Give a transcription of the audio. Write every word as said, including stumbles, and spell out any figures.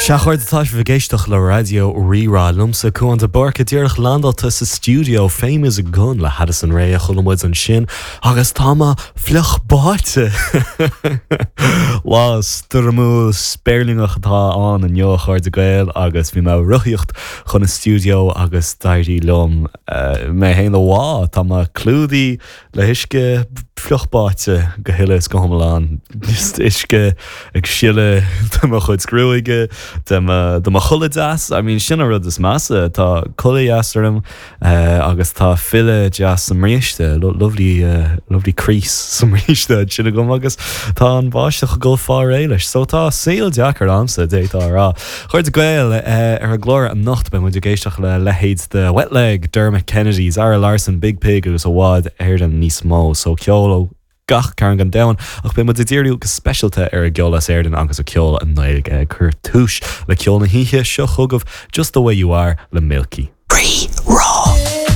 Sea, a chairde, tá sibh ag éisteacht le Raidió Rí-Rá, liomsa Cuán de Búrca, díreach landáilte sa stiúideo. Fame Is a Gun le Addison Rae a chuala muid ansin agus tá mé fliuch báite. Lá stoirmiúil spéirlingeach atá ann inniu, a chairde Gael, agus bhí mé ag rothaíocht chun an stiúideo agus d'éirigh liom eh, mé féin a bhá. Tá mé clúdaithe le huisce, fliuch báite go huile is go hiomlán. Just uisce ag sileadh de mo chuid gruaige, de mo de mo chulaith deas. I mean, sin an rud is measa. Tá culaith dheas orm uh, agus tá filleadh deas sa mbríste, lovely uh, lovely crease sa mbríste sin agam agus tá an bháisteach ag dul fá réir leis. So tá saol deacair a'msa, d'fhéadfá a rá. Chairde Gael uh, ar an gclár anocht beidh muid ag éisteacht le leithéid de Wet Leg, Dermot Kennedy, Zara Larsson, Biig Piig agus i bhfad Éireann níos mó, so ceol ó gach cearn den domhan, ach beidh muid ag díriú go speisialta ar an gceol as Éirinn agus an ceol i nGaeilge. Ag cur tús le ceol na hoíche seo chugaibh, Just the Way You Are le Milky. Rí